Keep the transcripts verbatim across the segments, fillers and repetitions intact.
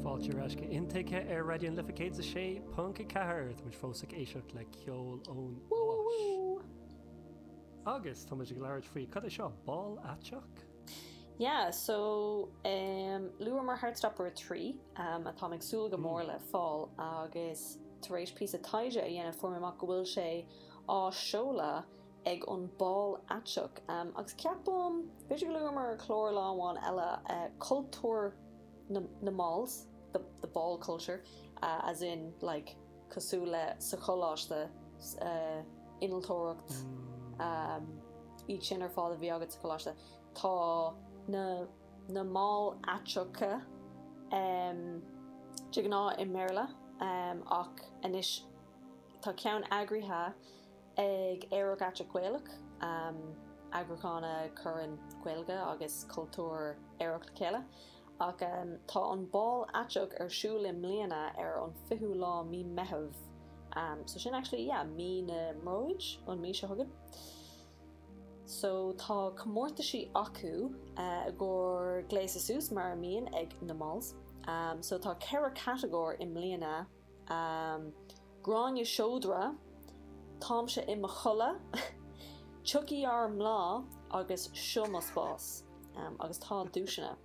Fáilte ar ais go Intuigthe ar Raidió na Life céad a sé ponc a ceathair. Tá muid fós ag éisteacht le ceol ón Áis. Agus tá muid ag labhairt faoi cad é seo bál aiteach? Yeah, so um, luamar Heartstopper a trí um, atá ag súil go mór le fáil agus tar éis píosa taighde a dhéanamh fuair mé amach go bhfuil sé á seoladh ag an bál aiteach. Um, agus ceapaim b'fhéidir go luamar clár lá amháin eile uh, cultúr na, na malls, the, the ball culture, uh, as in like cosúil le sa choláiste uh, innealtóireacht um, iad sin ar fád a bhí agat sa choláiste. Tá na, na mall aiteacha um, de ghnáth i mBéarla um, ach anois tá ceann eagraithe ag Aerach Aiteach Gaelach um, eagrúchán a chuireann Gaeilge agus cultúr aerach le chéile. Ach um, tá an bál aiteach ar siúl i mbliana ar an fichiú lá mí Meitheamh. Um, so sin actually yeah, mí na mbróid an mí seo chugainn. So tá comórtaisí acu uh, i gcomhair gléasadh suas mar a mbíonn ag na malls. Um, so tá ceithre catagóir i mbliana um, Gráinne Seodra, Táimse i mo chodladh, Tiocfaidh ár mBláth agus Seo mo spás um, agus tá duaiseanna.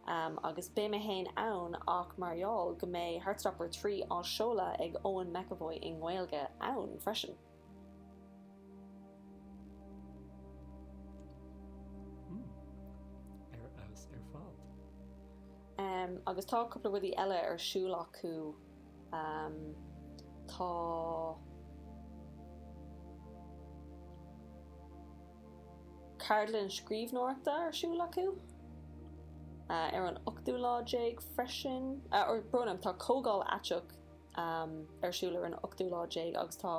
Um, agus beidh mé féin ann ach mar gheall go mbeidh Heartstopper trí á seoladh ag Eoin McEvoy i nGaeilge ann freisin. Ar fheabhas ar fad. Um, agus tá cúpla rudaí eile ar siúl acu. Um, tá ceardlann scríbhneoireachta ar siúl acu. Uh, ar an ochtú lá déag freisin, uh, or brón orm, tá comhdháil aiteach um, ar siúl ar an ochtú lá déag agus tá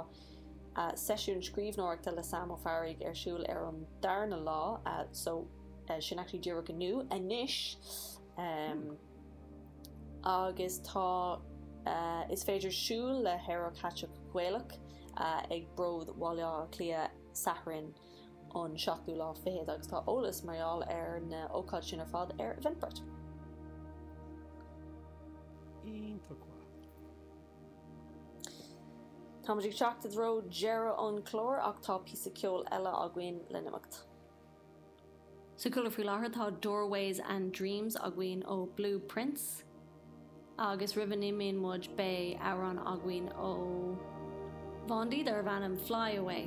uh, seisiún scríbhneoireachta le Sam Ó Fearraigh ar siúl ar an darna lá, uh, so uh, sin actually díreach inniu anois. Um, agus tá uh, is féidir siúl le hAerach Aiteach Gaelach uh, ag Bród Bhaile Átha Cliath Satharn an seachtú lá fichead agus tá eolas mar gheall ar na ócáid sin ar fad ar Eventbrite. Iontach maith. Táimid ag teacht i dtreo deireadh an chlár ach tá píosa ceoil eile againn le n-imeacht. Sa cúlra faoi láthair tá Doorways and Dreams againn ó Blue Prince agus roimh a n-imíonn muid beidh amhrán againn ó Vaundy darb ainm Fly Away.